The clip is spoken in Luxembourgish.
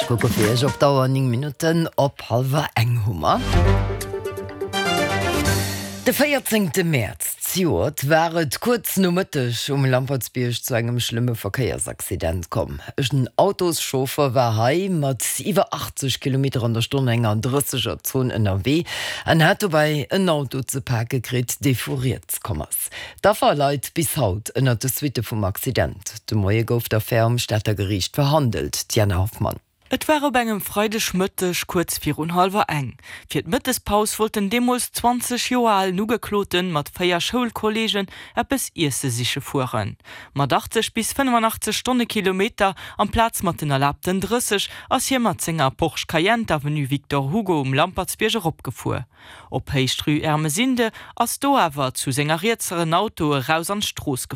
Kucke fir iech op d'Auer, 9 Minutten op hallwer eng hu mer. De 14 Mäerz zejoert war et kuerz no Mëtteg um Lampertsbierg zu engem schlëmme Verkéiersaccident komm. En Autoschauffer war hei mat iwwer 80 Kilometer an der Stonn enger 30 er Zon ënnerwee an hat dobäi en Auto ze pake kritt, dee vu riets komm ass. D'Affer leit bis haut ënnert de Suitte vum Accident. De Moie gouf d'Affär um Stater Geriicht verhandelt. D'Diana Hoffmann. Et war op engem Freidegmëtteg kuerz virun hallwer eng. Fir d'Mëttespaus wollt den deemools 20 Joer alen Ugekloten mat 4 Schoulkolleegen eppes iesse siche fueren. Mat 80 bis 85 Stonnekilometer amplaz mat den erlaabten 30 ass hie mat senger Porsche Cayenne d'Avenue Victor Hugo um Lampertsbierg eropgefuer. Op Héicht Rue Ermesinde ass do awer zu senger Rietser en Auto eraus an d'Strooss gefuer.